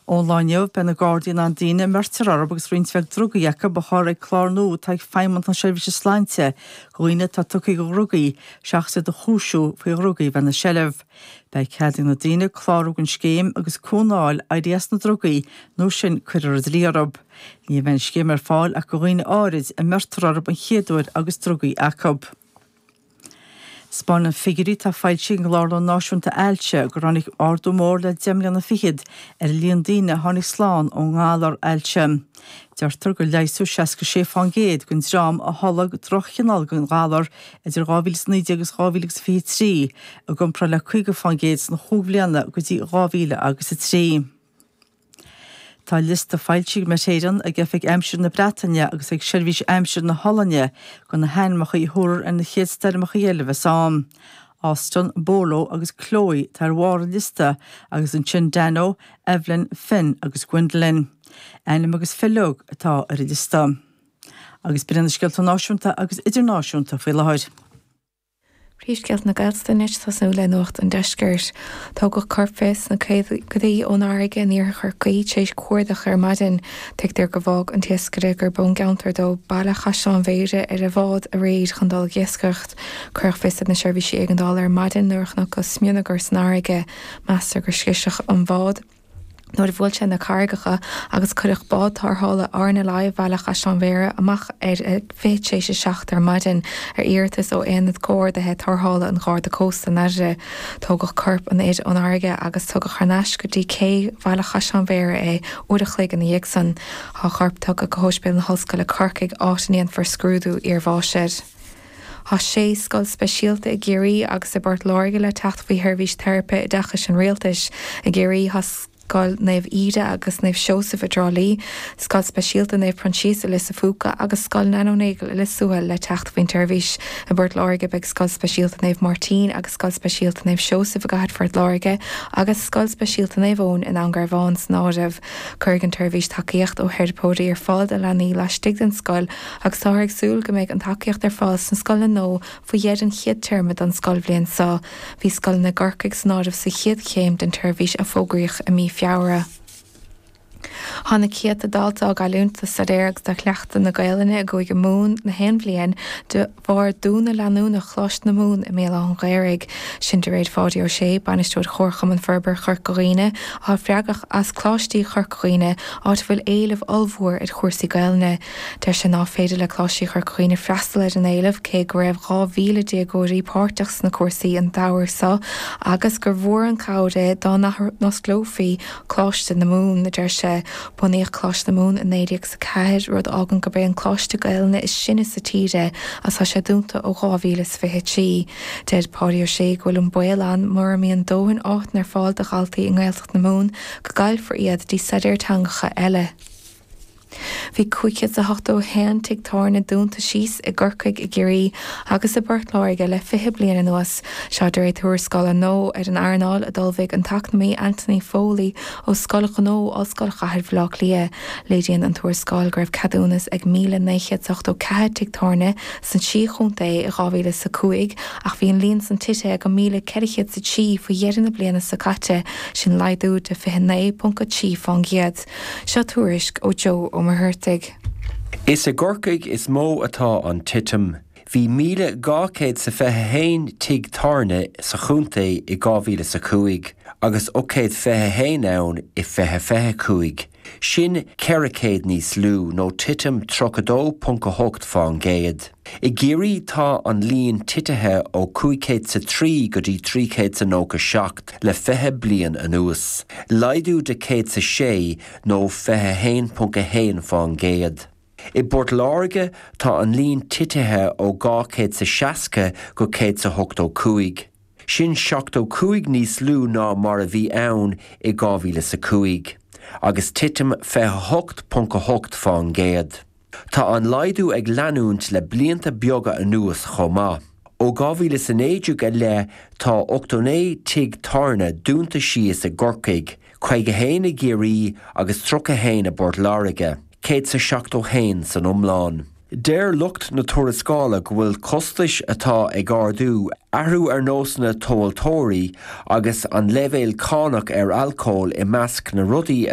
Ón lá inniu, beidh na Gardaí in ann daoine a mbeirtear orthu agus roinnt bheag drugaí acu a chur ag clár nua atá ag Feidhmeannacht na Seirbhíse Sláinte do dhaoine atá tugtha do dhrugaí seachas iad a chúisiú faoi dhrugaí a bheith ina seilbh. Beidh cead ag na daoine clárú don scéim agus cúnamh a fháil éirí as na drugaí nó sin cuirfear an dlí orthu. Ní bheidh an scéim ar fáil ach do dhaoine áirid a mbeirtear orthu an chéad uair agus drugaí acu. 'Spáineann figiúirí atá foilsithe ag an gClárlann Náisiúnta Ailse gur tháinig ardú mór le 10 mbliana fichead ar an líon daoine a tháinig slán ón ngalar ailse. Deirtear gur leigheasadh 66 fán gcéad den dream a tholg droch-chineál den ghalar idir 2019 agus 2023, i gcomparáid le 50 fán gcéad sna chúig bhliana go dtí 2003. Tá liosta foilsithe ag Met Éireann, ag Oifig Aimsire na Breataine agus ag Seirbhís Aimsire na hOllainne de na hainmneacha a thabharfar ar na chéad stoirmeacha eile a bheas ann. Austin, Bolo agus Chloe atá ar bharr an liosta agus ansin Dano, Evelyn, Finn agus Gwendolyn. Ainm agus fileog atá ar an liosta. Agus b'in iad na scéalta náisiúnta agus idirnáisiúnta faoi láthair. Príomhscéalta na Gaeltachta anois, tosnú le Nuacht an Deiscirt. Tógadh corp fir sna caogaidí ón fharraige in iarthar Chorcaí tar éis cuardach ar maidin. Tuigtear gur bhfág an t-iascaire gurb ón gceantar dó Baile Chaisleáin Bhéarra ar a bhád aréir chun dul ag iascaireacht. Cuireadh fios ar na seirbhísí éigeandála ar maidin nuair a chonacthas smionagar san fharraige. Meastar gur scriosadh an bhád. nuair a bhuail sé na carraigeacha agus cuireadh bád tarrthála RNLI Bhaile Chaisleáin Bhéarra amach ar a 7:40 ar maidin ar iarratas ó Aonad Comhordaithe Tarrthála an Gharda Cósta in Airdrie. Tógadh corp an fhir ón fharraige agus tugadh thar n-ais go dtí cé Bhaile Chaisleáin Bhéarra é uair a chloig ina dhiaidh san. Tá a chorp tugtha go hOspidéal na hOllscoile Corcaigh áit a ndéanfar scrúdú iarbháis air. Tá sé scoil speisialta i gCiarraí agus i bPort Láirge le teacht faoi sheirbhís teiripe oideachais an Rialtais. I gCiarraí tá Scoil Naomh Íde agus Naomh Seosamh i dTrá Lí, Scoil Speisialta Naomh Proinsias i Lios a' Phúca agus Scoil Nano Nagle i Lios Tuathail le teacht faoin tseirbhís. I bPort Láirge beidh Scoil Speisialta Naomh Máirtín agus Scoil Speisialta Naomh Seosamh i gCathair Phort Láirge agus Scoil Speisialta Naomh Eoin i nDún Garbhán san áireamh. Cuirfidh an tseirbhís tacaíocht ó theiripeoirí ar fáil do leanaí laistigh den scoil agus táthar ag súil go mbeidh an tacaíocht ar fáil sna scoileanna nua faoi dheireadh an chéad téarma don scoilbhliain seo. Bhí scoileanna i gCorcaigh san áireamh sa chéad chéim den tseirbhís a fógraíodh i mí Feabhra. Tá na céadta dalta á gcailliúint do staidéar agus do chleachtadh na Gaelainne i gCúige Mumhan na haon bhliain de bharr dúnadh leanúnach Choláiste na Mumhan i mBéal Átha an Ghaorthaidh. Sin de réir Pháidí Ó Sé, Bainisteoir Chomharchumann Forbartha Chorca Dhuibhne, atá freagrach as Coláistí Chorca Dhuibhne, áit a bhfuil éileamh ollmhór ar chúrsaí Gaelainne. Deir sé ná féidir le Coláistí Chorca Dhuibhne freastal ar an éileamh, cé go raibh 2,000 déagóirí páirteach sna cúrsaí an tsamhradh seo agus gur mhór an chabhair é dá n-athosclófaí Coláiste na Mumhan, a deir sé. Bunaíodh Coláiste na Mumhan i 1904, rud a fhágann gurb é an coláiste Gaelainne is sine sa tír é agus tá sé dúnta ó 2023. Deir Páidí Ó Sé go bhfuil an baol ann mura mbíonn dóthain áiteanna ar fáil do dhaltaí i nGaeltacht na Mumhan go gcaillfear iad dtí staidéar teangacha eile. Bhí 581 tigh tábhairne dúnta síos i gCorcaigh, i gCiarraí agus i bPort Láirge le 20 bliain anuas. Seo de réir tuarascála nua ar an earnáil a d'ullmhaigh an t-eacnamaí Anthony Foley ó Scoil Ghnó Ollscoil Chathair Bhaile Átha Cliath. Léiríonn an tuarascáil go raibh ceadúnas ag 1,984 tigh tábhairne sna trí chontae i 2005 ach bhí an líon san tite go 1,403 faoi dheireadh na bliana seo caite, sin laghdú de 29.3 fán gcéad. Seo tuairisc ó Joe Ó Muircheartaigh. Is i gCorcaigh is mó atá an titim. Bhí 1,221 tigh tábhairne sa chontae i 2005 agus 821 ann i 2025. Sin 400 níos lú, nó titim 32.8 fán gcéad. I gCiarraí tá an líon titithe ó 503 go dtí 397 le 20 bliain anuas, laghdú de 106 nó 21.1 fán gcéad. I bPort Láirge tá an líon titithe ó 260 go 185. Sin 75 níos lú ná mar a bhí ann i 2005, agus titim 28.8 fán gcéad. Tá an laghdú ag leanúint le blianta beaga anuas chomh maith. Ó 2019 i leith tá 89 tigh tábhairne dúnta síos i gCorcaigh, 51 i gCiarraí agus 31 i bPort Láirge, 171 san iomlán. Deir lucht na tuarascála go bhfuil costais atá ag ardú, athrú ar nósanna tomhaltóirí agus an leibhéal cánach ar alcól i measc na rudaí a.